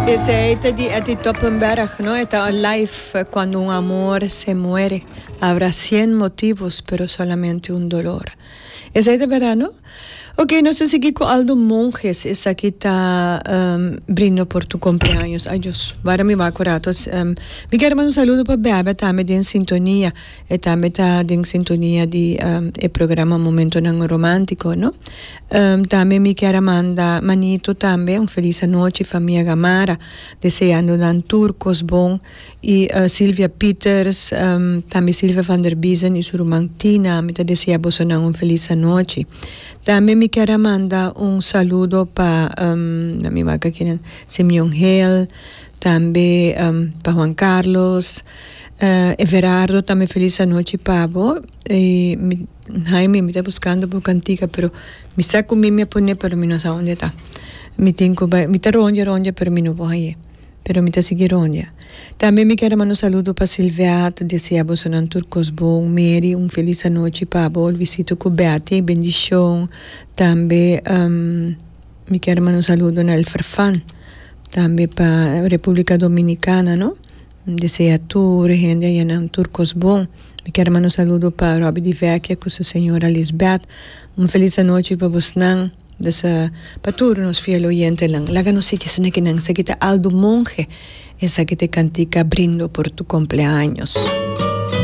Esei ta di Etty Toppenberg, no? E ta live Cuando un amor se muere, habrá cien motivos, pero solamente un dolor. Esei ta berdad, no? Ok, nos ta sigui cu Aldo Monges. Esaki ta Brindo por tu cumpleaños. Ay Dios, wara mi wak un rato. Mi kier manda un saludo pa Bebe tambe den sintonia. E tambe ta den sintonia di e programa Momentonan Romantico, no? Tambe mi kier a manda Manito tambe un feliz anochi, famia Gamara, deseando nan tur cos bon. Y Silvia Pieters, tambe Silvia van der Biezen y su ruman Tina, mi ta desea bosonan un feliz anochi. Tambe mi kier a manda un saludo pa, mi wak akinan, Simeon Hill, tambe pa Juan Carlos, Everardo tambe feliz anochi pa bo y mi Jaime mi ta buscando bo cantica pero mi sa cu mi mi a pone pero mi no sa unda e ta mi tin cu bay mi ta rondia rondia pero mi no por haye pero mi ta sigui rondia tambe mi kier a manda un saludo pa Silvia ta desea bosonan tur cos bon Mary un feliz anochi pa bo Luisito cu Betty bendicion tambe mi kier a manda un saludo na El Farfan tambe pa Republica Dominicana no. Desea tur hende aya nan tur kos bon. Mi kier manda un saludo pa Robby Di Vecchia ku su señora Lisbeth. Un felis anochi pa bosnan. Dus pa tur nos fiel oyentenan. Laga nos sigui esaki kinan. Esaki ta Aldo Monge. Esaki ta e kantika Brindo por tu cumpleaños.